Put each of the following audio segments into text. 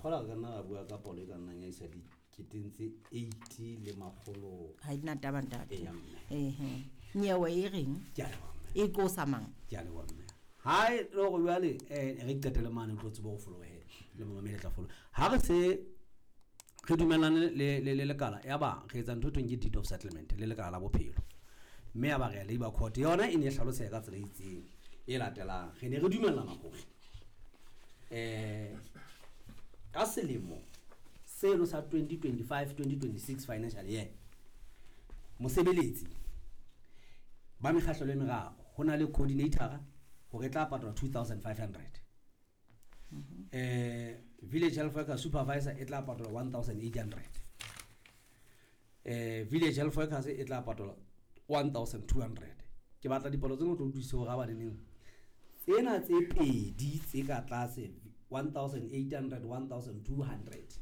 kgola re ka nna ra bua ka palo e ka nnang ya isa diketeng tse 80 le makgolo. Ha di na taba, ntate. Eya, mme. Ehe, nyewe e reng? Ke a leboha, mme. E qosa mang? Ke a leboha, mme. Ha e le hore jwale re qetele mane, o tlo tseba ho folohe le momamedi tla foloha. Ha re se re dumellane le lekala, ya ba re etsa ntho e thweng ke deed of settlement le lekala la bophelo, mme ya ba re ya labour court. Yona e ne e hlaloseha ka tsela e itseng e latelang. Re ne re dumellana hore ka selemo seno sa 2025 2026 financial year, mosebeletsi ba mekgahlelo e meraro, ho na le coordinator hore e tla patalwa 2500, village health worker supervisor e tla patalwa 1800, village health workers e tla patalwa 1200. Ke batla dipalo tsena o tlo utlwisise hore ha ba neneng tsena tse pedi tse ka tlase, 1800, 1200,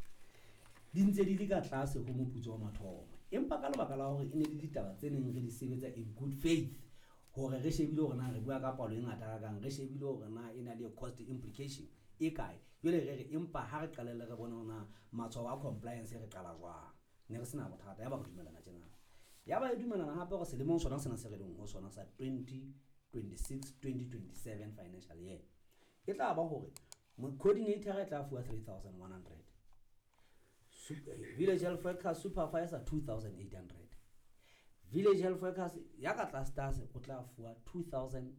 di ntse di le ka tlase ho moputso wa mathomo, empa ka lebaka la hore e ne le ditaba tse neng re di sebetsa in good faith, hore re shebile hore na re bua ka palo e ngata kakang, re shebile hore na e na le cost implication e kae. Jwale re re empa ha re qalelle re bone hore na matshwao a compliance re qala jwang. Ne re sena bothata, ya ba re dumellana tjena. Ya ba e dumellana hape hore selemong sona sena se re leng ho sona sa 2026 2027 financial year, e tla ba hore coordinator e tla fuwa 3100, village health worker supervisor 2800, village health workers ya ka tlase tlase o tla fuwa 2500.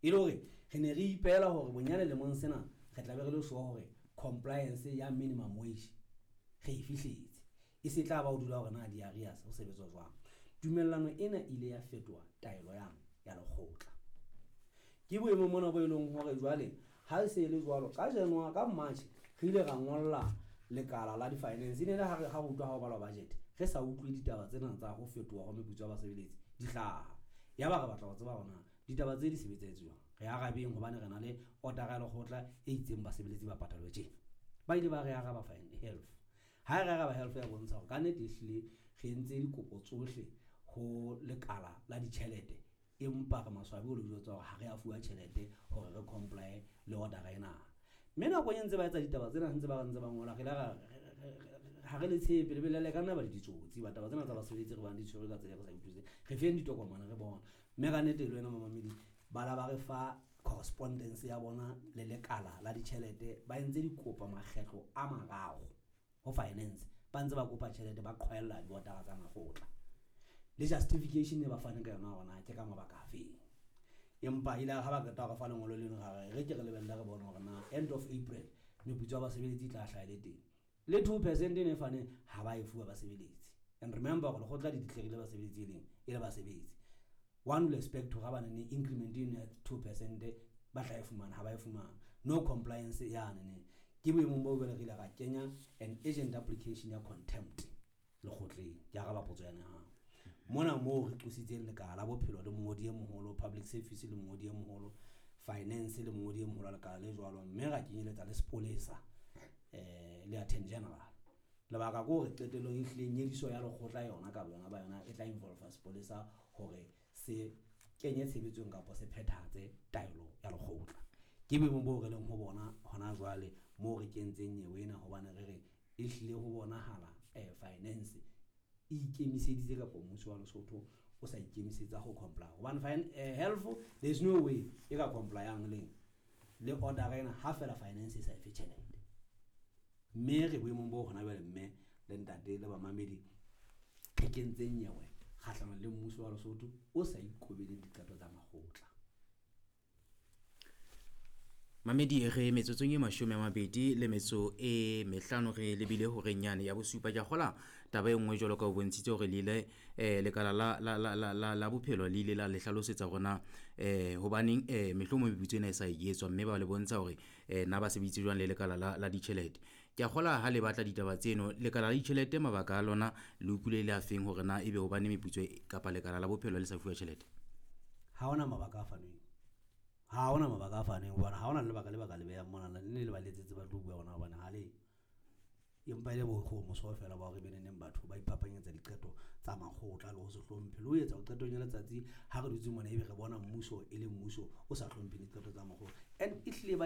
E le hore re ne re ipehela hore bonyane lemong sena re tla be re le sure hore compliance ya minimum wage re e fihletse, e se tla ba o dula hore na di-arrears ho sebetswa jwang. Tumellano ena ile ya fetoha taelo yang ya lekgotla. Ke boemo mona bo e leng hore jwale ha e se e le jwalo ka January, ka March re ile ra ngolla lekala la di-finance. E ne le ha re ha re utlwa ha ho balwa budget, re sa utlwe ditaba tsena tsa ho fetoha ho meputso ya basebeletsi di hlaha. Ya ba re batla ho tseba hore na ditaba tse di sebetsetse jwang, re arabeng, hobane re na le order ya lekgotla e itseng basebeletsi ba patalwe tjena. Ba ile ba re araba fine health. Ha re araba health, ya bontsha hore ka nnete ehlile re entse dikopo tsohle ho lekala la ditjhelete, empa re maswabi ho le jwetsa hore ha re a fuwa tjhelete hore re comply le order ena. Mme nakong e ntse ba etsa ditaba tsena, ntse ba ntse ba ngola, re ile ra ha re le tshepe le bele le ka nna ba le ditsotsi ba taba tsena tsa basebeletsi re bang di tshwerwe ka tsela e re sa utlwisiseng. Re feng ditokomane re bona. Mme ka nnete le wena mamamedi, ba la ba re fa correspondence ya bona le lekala la ditjhelete. Ba entse dikopo makgetlo a mararo ho finance, ba ntse ba kopa tjhelete, ba qhwaella diotara tsa makgotla le justification e ba faneng ka yona hore na ke ka mabaka afeng. Empa ile ha ba qeta ho re fa lengolo leno, ra re re ke re lebelle re bone hore na end of April meputso ya basebeletsi e tla hlaha e le teng. Le 2% e ne faneng ha ba e fuwa basebeletsi. And remember hore lekgotla le declare basebeletsi e leng e le basebetsi. One will expect hore ha ba ne increment eno ya 2% ba tla e fumana, ha ba e fumana. No compliance yane ne. Ke boemong bo jwale re ile ra kenya an urgent application ya contempt lekgotleng. Ke araba potso ya hao. Mona moo re qositseng lekala la bophelo le mongodi e moholo, public service le mongodi e moholo, finance le mongodi e moholo wa lekala le jwalo, mme ra kenyeletsa le sepolesa le attorney general. Lebaka ke hore qetellong e hlile nyediso ya lekgotla yona ka boyona ba yona e tla involve sepolesa hore se kenye tshebetsong kapa se phethahatse taelo ya lekgotla. Ke boemong boo re leng ho bona hona jwale moo re kentseng nyewe ena, hobane re re e hlile ho bonahala finance e ikemiseditse kapa mmuso wa Lesotho o sa ikemisetsa ho comply. Hobane health, there is no way e ka complyang leng le order ena ha fela finance e sa efe tjhelete. Mme re boemong bo hona jwale, mme le ntate le bamamedi, re kentseng nyewe kgahlanong le mmuso wa Lesotho o sa ikobeleng diqeto tsa makgotla. Mamedi, re metsotsong e 25 re lebile horeng yane ya bosupa. Ke a kgola taba e nngwe jwalo ka o bontshitse hore le ile lekala la bophelo le ile la le hlalosetsa hore na hobaneng mehlomong meputso ena e sa etswa, mme ba le bontsha hore na ba sebeditse jwang le lekala la ditjhelete. Ke a kgola ha le batla ditaba tseno, lekala la ditjhelete mabaka a lona le utlwile le a feng hore na ebe hobane meputso kapa lekala la bophelo le sa fuwa tjhelete? Ha hona mabaka a fanweng. Ha hona mabaka a fanweng, hobane ha hona lebaka le baka le behang mona, le le ba letsetse ba tlo bua hona, hobane ha le empa e le boikgohomoso feela ba hore be neneng batho ba iphapanyetsa diqeto tsa makgotla le ho se hlomphe le ho etsa qetong ya letsatsi ha re dutse mona ebe re bona mmuso e le mmuso o sa hlompheng diqeto tsa makgotla. And ehlile ba e